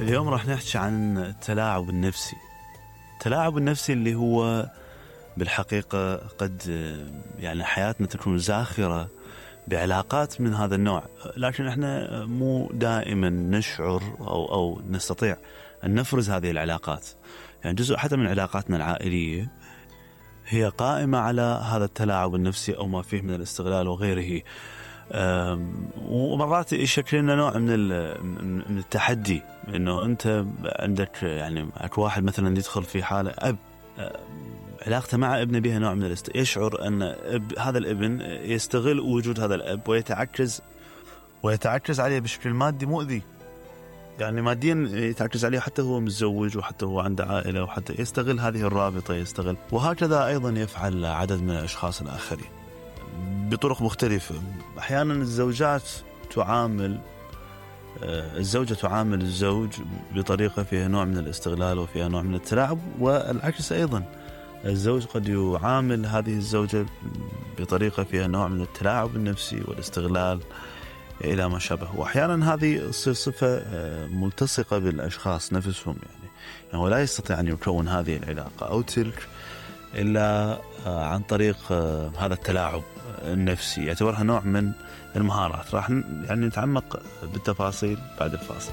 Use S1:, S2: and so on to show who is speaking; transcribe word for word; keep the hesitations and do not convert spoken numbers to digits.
S1: اليوم راح نحكي عن التلاعب النفسي. التلاعب النفسي اللي هو بالحقيقة قد يعني حياتنا تكون زاخرة بعلاقات من هذا النوع، لكن احنا مو دائما نشعر أو, أو نستطيع أن نفرز هذه العلاقات. يعني جزء حتى من علاقاتنا العائلية هي قائمة على هذا التلاعب النفسي أو ما فيه من الاستغلال وغيره. ومرات يشكل لنا نوع من من التحدي، انه انت عندك يعني اكو واحد مثلا يدخل في حاله اب علاقته مع ابنه بها نوع من الاست... يشعر ان اب... هذا الابن يستغل وجود هذا الاب ويتعكز ويتعكز عليه بشكل مادي مؤذي، يعني ماديا يتعكز عليه حتى هو متزوج وحتى هو عنده عائله، وحتى يستغل هذه الرابطه يستغل. وهكذا ايضا يفعل عدد من الاشخاص الاخرين بطرق مختلفة. أحيانا الزوجات تعامل الزوجة تعامل الزوج بطريقة فيها نوع من الاستغلال وفيها نوع من التلاعب، والعكس أيضا الزوج قد يعامل هذه الزوجة بطريقة فيها نوع من التلاعب النفسي والاستغلال إلى ما شابه. وأحيانا هذه صفة ملتصقة بالأشخاص نفسهم، يعني, يعني هو لا يستطيع أن يكون هذه العلاقة أو تلك إلا عن طريق هذا التلاعب النفسي. يعتبرها نوع من المهارات. راح يعني نتعمق بالتفاصيل بعد الفاصل.